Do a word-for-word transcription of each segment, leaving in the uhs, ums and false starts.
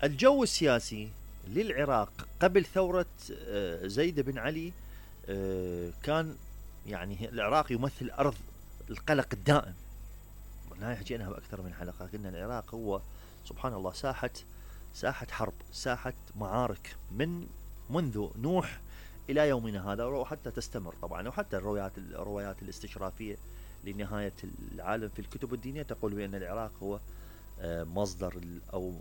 الجو السياسي للعراق قبل ثورة زيد بن علي كان يعني العراق يمثل أرض القلق الدائم. هاي حكيناها بأكثر من حلقة، قلنا العراق هو سبحان الله ساحة ساحة حرب، ساحة معارك من منذ نوح إلى يومنا هذا، وحتى تستمر طبعا. وحتى الروايات الروايات الاستشرافية لنهاية العالم في الكتب الدينية تقول بأن العراق هو مصدر أو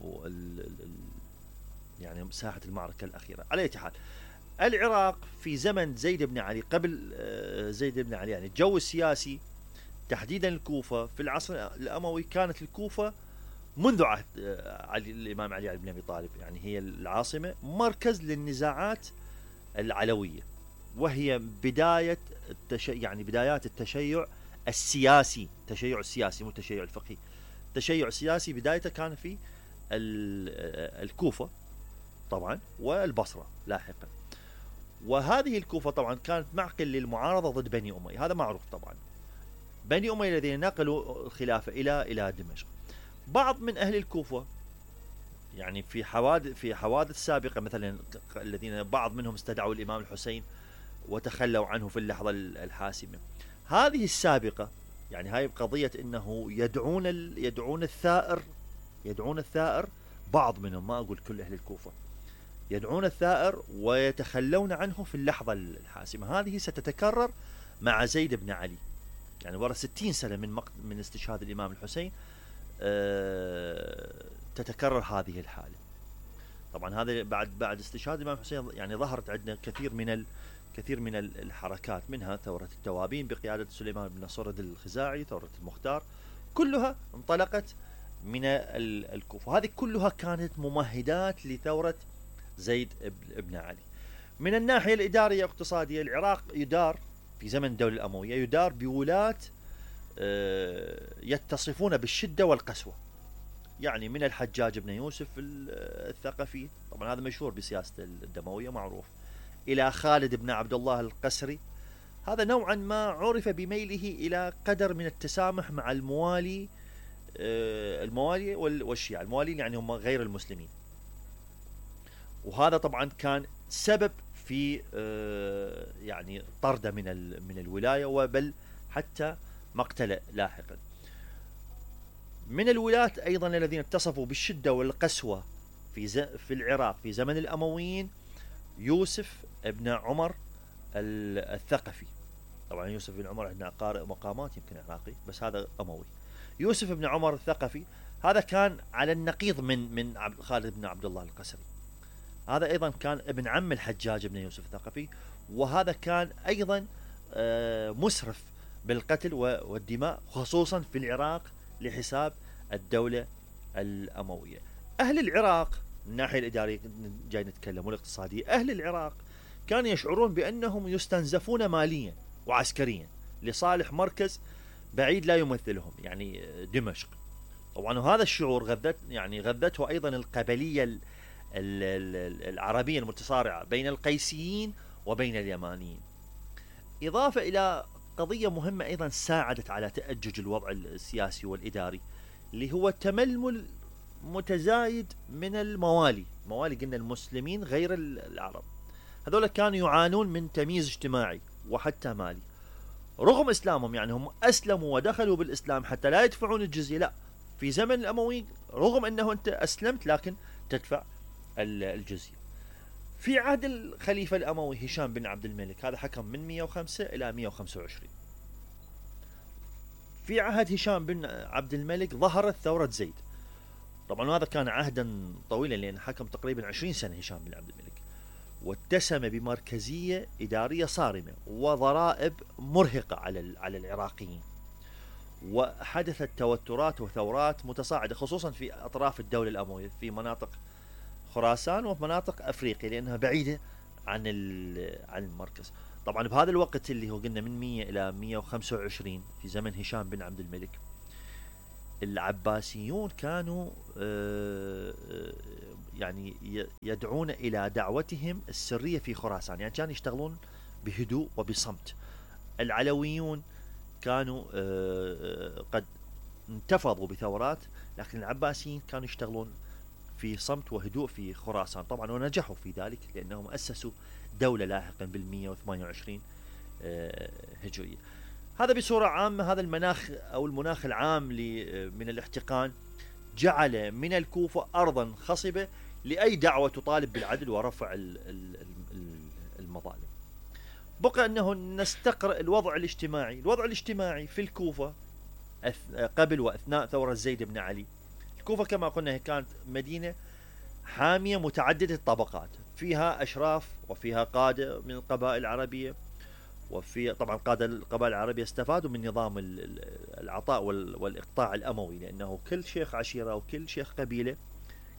يعني ساحة المعركة الأخيرة. على أي حال، العراق في زمن زيد بن علي، قبل زيد بن علي، يعني الجو السياسي تحديدا الكوفة في العصر الأموي، كانت الكوفة منذ عهد علي الإمام علي بن أبي طالب يعني هي العاصمة، مركز للنزاعات العلوية، وهي بداية التشيع، يعني بدايات التشيع السياسي، التشيع السياسي مو التشيع الفقهي. التشيع السياسي بدايته كان في الكوفة طبعا والبصرة لاحقا. وهذه الكوفة طبعا كانت معقل للمعارضة ضد بني أمية، هذا معروف طبعا. بني أمية الذين نقلوا الخلافة إلى إلى دمشق. بعض من أهل الكوفة يعني في حوادث في حوادث سابقة، مثلا الذين بعض منهم استدعوا الإمام الحسين وتخلوا عنه في اللحظة الحاسمة. هذه السابقة يعني هاي قضية انه يدعون يدعون الثائر يدعون الثائر بعض منهم، ما اقول كل اهل الكوفة، يدعون الثائر ويتخلون عنه في اللحظة الحاسمة. هذه ستتكرر مع زيد بن علي، يعني ورا ستين سنة من مقت... من استشهاد الإمام الحسين أه... تتكرر هذه الحالة. طبعا هذا بعد بعد استشهاد الإمام الحسين يعني ظهرت عندنا كثير من ال... كثير من الحركات، منها ثورة التوابين بقيادة سليمان بن نصر الخزاعي، ثورة المختار، كلها انطلقت من الكوفة. هذه كلها كانت ممهدات لثورة زيد بن علي. من الناحية الإدارية الاقتصادية، العراق يدار في زمن الدولة الأموية يدار بولاة يتصفون بالشدة والقسوة، يعني من الحجاج بن يوسف الثقفي، طبعا هذا مشهور بسياسة الدموية معروف، إلى خالد بن عبد الله القسري، هذا نوعا ما عرف بميله إلى قدر من التسامح مع الموالي الموالي والشيعة. الموالين يعني هم غير المسلمين، وهذا طبعا كان سبب في يعني طرده من من الولاية، وبل حتى مقتله لاحقا. من الولاة أيضا الذين اتصفوا بالشدة والقسوة في في العراق في زمن الأمويين يوسف ابن عمر الثقفي. طبعا يوسف بن عمر عندنا قارئ مقامات يمكن عراقي، بس هذا أموي. يوسف بن عمر الثقفي هذا كان على النقيض من من خالد بن عبد الله القسري. هذا أيضا كان ابن عم الحجاج بن يوسف الثقفي، وهذا كان أيضا مسرف بالقتل والدماء خصوصا في العراق لحساب الدولة الأموية. أهل العراق من الناحية الإدارية جاي نتكلم والاقتصادية، أهل العراق كانوا يشعرون بأنهم يستنزفون ماليا وعسكريا لصالح مركز بعيد لا يمثلهم، يعني دمشق. طبعا وهذا الشعور غذت يعني غذته أيضا القبلية العربية المتصارعة بين القيسيين وبين اليمانيين، إضافة إلى قضية مهمة أيضا ساعدت على تأجج الوضع السياسي والإداري، اللي هو تململ متزايد من الموالي. موالي قلنا المسلمين غير العرب، هذول كانوا يعانون من تمييز اجتماعي وحتى مالي رغم إسلامهم، يعني هم أسلموا ودخلوا بالإسلام حتى لا يدفعون الجزية. لا، في زمن الأمويين رغم أنه أنت أسلمت لكن تدفع الجزية. في عهد الخليفة الأموي هشام بن عبد الملك، هذا حكم من مئة وخمسة إلى مئة وخمسة وعشرين. في عهد هشام بن عبد الملك ظهرت ثورة زيد. طبعا هذا كان عهدا طويلا لأن حكم تقريبا عشرين سنة هشام بن عبد الملك، واتسم بمركزية إدارية صارمة وضرائب مرهقة على على العراقيين، وحدثت توترات وثورات متصاعدة خصوصا في أطراف الدولة الأموية في مناطق خراسان وفي مناطق أفريقيا لأنها بعيدة عن عن المركز. طبعا بهذا الوقت اللي هو قلنا من مئة إلى مئة وخمسة وعشرين في زمن هشام بن عبد الملك، العباسيون كانوا يعني يدعون إلى دعوتهم السرية في خراسان، يعني كانوا يشتغلون بهدوء وبصمت. العلويون كانوا قد انتفضوا بثورات، لكن العباسيين كانوا يشتغلون في صمت وهدوء في خراسان طبعا، ونجحوا في ذلك لأنهم أسسوا دولة لاحقا بالمئة وثمانية وعشرين هجرية. هذا بصورة عامة هذا المناخ أو المناخ العام من الاحتقان جعل من الكوفة أرضا خصبة لأي دعوة تطالب بالعدل ورفع المظالم. بقى أنه نستقرأ الوضع الاجتماعي. الوضع الاجتماعي في الكوفة قبل وأثناء ثورة زيد بن علي، الكوفة كما قلنا كانت مدينة حامية متعددة الطبقات، فيها أشراف وفيها قادة من القبائل العربية، وفي طبعا قادة القبائل العربية استفادوا من نظام العطاء والإقطاع الأموي، لأنه كل شيخ عشيرة وكل شيخ قبيلة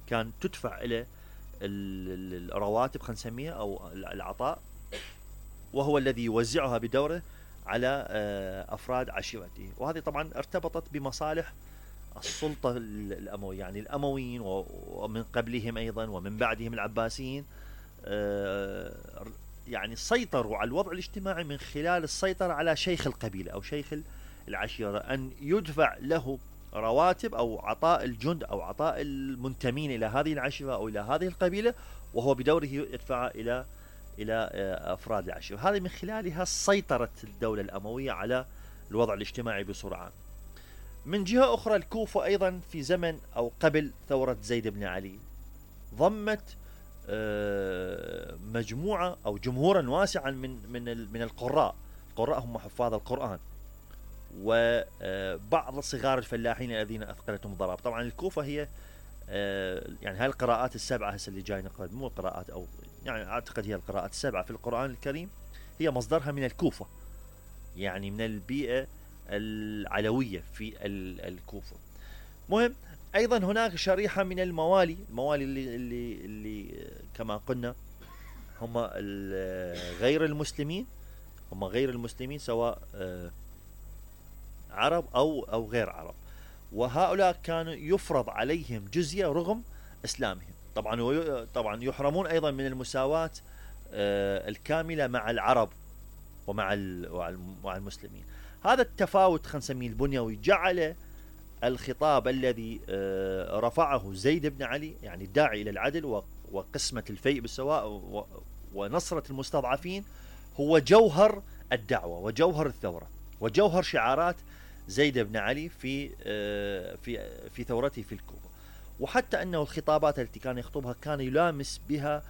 كان تدفع إلى الرواتب خلينا نسميها أو العطاء، وهو الذي يوزعها بدوره على أفراد عشيرته. وهذه طبعا ارتبطت بمصالح السلطة الأموية، يعني الأمويين ومن قبلهم أيضا ومن بعدهم العباسيين يعني سيطروا على الوضع الاجتماعي من خلال السيطرة على شيخ القبيلة أو شيخ العشيرة، أن يدفع له رواتب أو عطاء الجند أو عطاء المنتمين إلى هذه العشيرة أو إلى هذه القبيلة، وهو بدوره يدفع إلى إلى أفراد العشيرة. هذه من خلالها سيطرت الدولة الأموية على الوضع الاجتماعي بصورة عامة. من جهة أخرى الكوفة أيضا في زمن أو قبل ثورة زيد بن علي ضمت مجموعة أو جمهورا واسعا من من من القراء. القراء هم حفاظ القرآن وبعض صغار الفلاحين الذين أثقلتهم الضرائب. طبعا الكوفة هي يعني هاي القراءات السبعة هسه اللي جاي نقرأ، مو قراءات أو يعني أعتقد هي القراءات السبعة في القرآن الكريم هي مصدرها من الكوفة، يعني من البيئة العلوية في الكوفة. مهم أيضا هناك شريحة من الموالي، الموالي اللي, اللي, اللي كما قلنا هم غير المسلمين، هم غير المسلمين سواء عرب أو أو غير عرب، وهؤلاء كانوا يفرض عليهم جزية رغم إسلامهم. طبعا طبعا يحرمون أيضا من المساواة الكاملة مع العرب ومع مع المسلمين. هذا التفاوت خلينا نسميه البنيوي جعل الخطاب الذي رفعه زيد بن علي، يعني الداعي إلى العدل وقسمة الفيء بالسواء ونصرة المستضعفين، هو جوهر الدعوة وجوهر الثورة وجوهر شعارات زيد بن علي في في في ثورته في الكوفة. وحتى أنه الخطابات التي كان يخطبها كان يلامس بها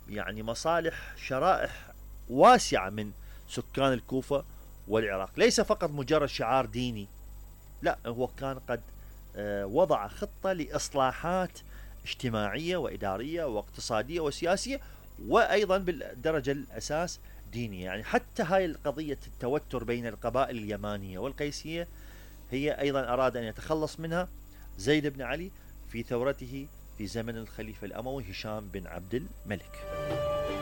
يعني مصالح شرائح واسعة من سكان الكوفة والعراق، ليس فقط مجرد شعار ديني، لا هو كان قد وضع خطة لإصلاحات اجتماعية وإدارية واقتصادية وسياسية، وأيضا بالدرجة الأساس دينية. يعني حتى هاي القضية التوتر بين القبائل اليمانية والقيسية هي أيضا أراد أن يتخلص منها زيد بن علي في ثورته في زمن الخليفة الأموي هشام بن عبد الملك.